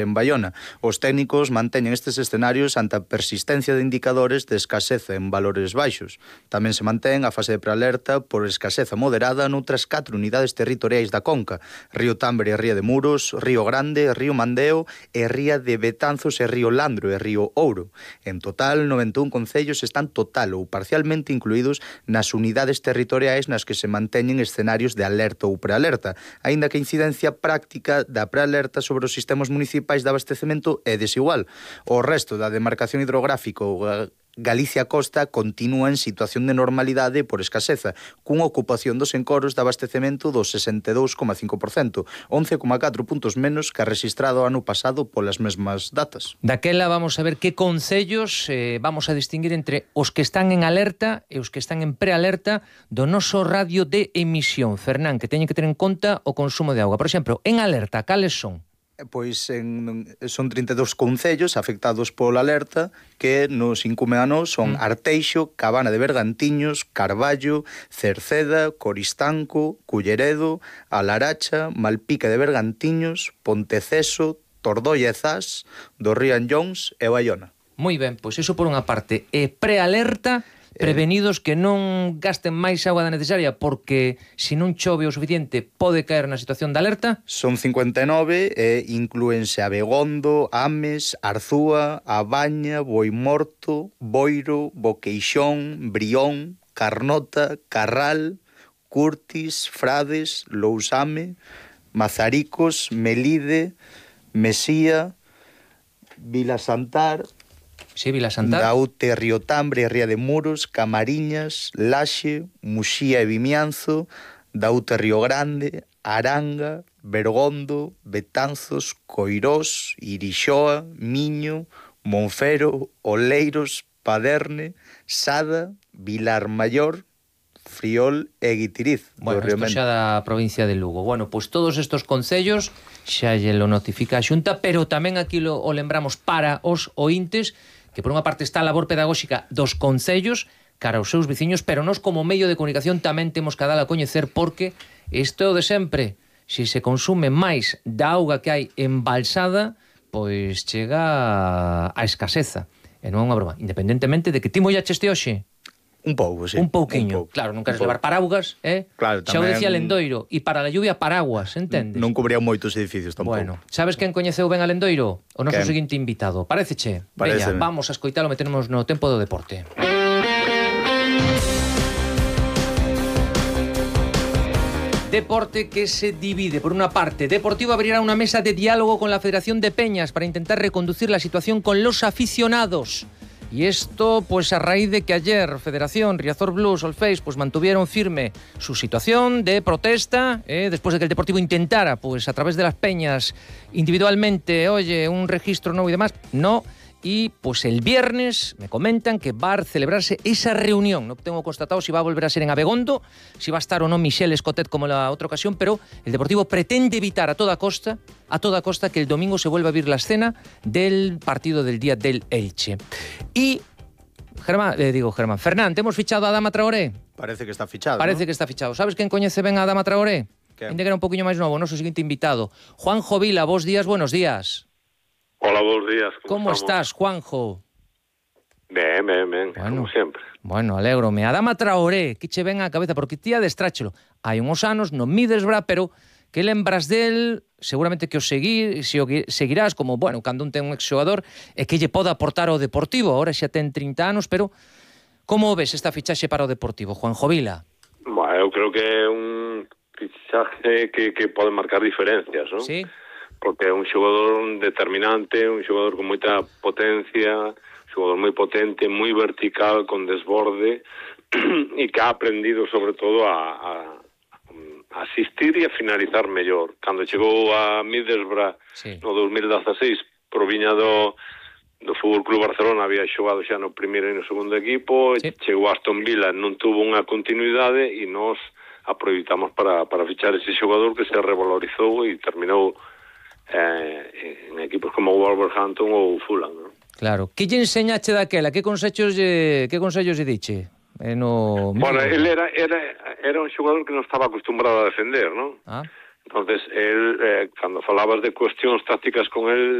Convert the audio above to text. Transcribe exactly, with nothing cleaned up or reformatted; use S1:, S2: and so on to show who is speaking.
S1: en Baiona. Os técnicos manteñen estes escenarios ante a persistencia de indicadores de escaseza en valores baixos. Tamén se mantén a fase de prealerta por escaseza moderada noutras catro unidades territoriais da Conca: Río Tambre e Ría de Muros, Río Grande, Río Mandeo e Ría de Betanzos e Río Landro e Río Ouro. En total, noventa e un concellos están total ou parcialmente incluídos nas unidades territoriais nas que se manteñen escenarios de alerta ou prealerta, aínda que a incidencia práctica da prealerta sobre os sistemas municipais de abastecemento é desigual. O resto da demarcación hidrográfica ou Galicia Costa continúa en situación de normalidade por escaseza, cunha ocupación dos encoros de abastecemento do sesenta e dous coma cinco por cento, once coma catro puntos menos que a rexistrado ano pasado polas mesmas datas.
S2: Daquela vamos a ver que concellos eh, vamos a distinguir entre os que están en alerta e os que están en prealerta do noso radio de emisión. Fernán, que teñen que ter en conta o consumo de auga. Por exemplo, en alerta, cales son?
S1: Pois en, son trinta e dous concellos afectados pola alerta que nos incumen a nós son mm. Arteixo, Cabana de Bergantiños, Carballo, Cerceda, Coristanco, Culleredo, A Laracha, Malpica de Bergantiños, Ponteceso, Tordoia e Zas, do Río Anllóns e Baiona.
S2: Moi ben, pois iso por unha parte. E prealerta, prevenidos que non gasten máis auga da necesaria porque se non chove o suficiente pode caer na situación de alerta?
S1: Son cincuenta e nove e inclúense Abegondo, Ames, Arzúa, A Baña, Boimorto, Boiro, Boqueixón, Brión, Carnota, Carral, Curtis, Frades, Lousame, Mazaricos, Melide, Mesía, Vilasantar,
S2: Sí, Vilasantar.
S1: Daute, Río Tambre, Ría de Muros, Camariñas, Laxe, Muxía e Vimianzo, Daute, Río Grande, Aranga, Bergondo, Betanzos, Coirós, Irixoa, Miño, Monfero, Oleiros, Paderne, Sada, Vilar Maior, Friol e Guitiriz.
S2: Bueno, isto xa da provincia de Lugo. Bueno, pois todos estos concellos xa lle lo notifica a Xunta, pero tamén aquí lo, o lembramos para os ointes, que por unha parte está a labor pedagóxica dos concellos cara aos seus veciños, pero nós como medio de comunicación tamén temos que dar a coñecer porque isto é o de sempre. Se se consume máis da auga que hai embalsada, pois chega a escaseza. E non é unha broma. Independentemente de que ti mollaches este hoxe,
S1: Un pouco, sí.
S2: Un pouquiño.
S1: Un pouco.
S2: Claro, non queres levar paraugas, eh?
S1: Claro,
S2: xa o
S1: tamén...
S2: decía Lendoiro, e para a lluvia paraguas, entendes?
S1: Non cubría moitos edificios tampouco.
S2: Bueno, sabes quen coñeceu ben a Lendoiro? O noso
S1: Quen?
S2: seguinte invitado. Paréceche? Veña, vamos a escoitalo, metemos no tempo do deporte. Deporte que se divide. Por una parte, Deportivo abrirá una mesa de diálogo con la Federación de Peñas para intentar reconducir la situación con los aficionados. Y esto, pues a raíz de que ayer Federación, Riazor Blues, Solfeis, pues mantuvieron firme su situación de protesta, eh, después de que el Deportivo intentara, pues a través de las peñas, individualmente, oye, un registro nuevo y demás, no. Y pues el viernes me comentan que va a celebrarse esa reunión. No tengo constatado si va a volver a ser en Abegondo, si va a estar o no Michel Escotet como en la otra ocasión, pero el Deportivo pretende evitar a toda costa, a toda costa que el domingo se vuelva a vivir la escena del partido del día del Elche. Y Germán, eh, digo Germán, Fernán, ¿te hemos fichado a Adama Traoré?
S1: Parece que está fichado,
S2: Parece
S1: ¿no?
S2: que está fichado. ¿Sabes quién coñece ben a Adama Traoré?
S1: ¿Qué?
S2: Ainda que era un poquinho máis novo, noso seguinte invitado. Juanjo Vila, vos días, buenos días.
S3: Hola, buenos días.
S2: ¿Cómo, ¿Cómo estás, Juanjo?
S3: Ben, ben, ben, bueno, como sempre.
S2: Bueno, alégrome. Adama Traoré, que che ven á cabeza, porque ti adestráchelo. Hai uns anos, non Middlesbrough, pero que lembras del, seguramente que o seguir, se o seguirás, como, bueno, cando un ten un exxogador, e que lle poda aportar ao Deportivo. Ahora xa ten trinta anos, pero como ves esta fichaxe para o Deportivo, Juanjo Vila?
S3: Bueno, eu creo que é un fichaje que, que pode marcar diferencias, non?
S2: Sí.
S3: Porque é un xogador determinante, un xogador con moita potencia, un xogador moi potente, moi vertical, con desborde, e que ha aprendido sobre todo a, a, a asistir e a finalizar mellor. Cando chegou a Middlesbrough, sí, no dos mil dezaseis, proviña do, do Fútbol Club Barcelona, había xogado xa no primeiro e no segundo equipo, sí, chegou a Aston Villa, non tuvo unha continuidade e nós aproveitamos para, para fichar ese xogador que se revalorizou e terminou Eh, en equipos como Wolverhampton ou Fulham, ¿no?
S2: Claro. Que lle enseñache daquela? Que consellos lle, que consellos lle diche? Eh, no...
S3: Bueno, él era, era, era un xogador que non estaba acostumbrado a defender, ¿no?
S2: Ah.
S3: Entonces, él, eh, cando falabas de cuestións tácticas con él,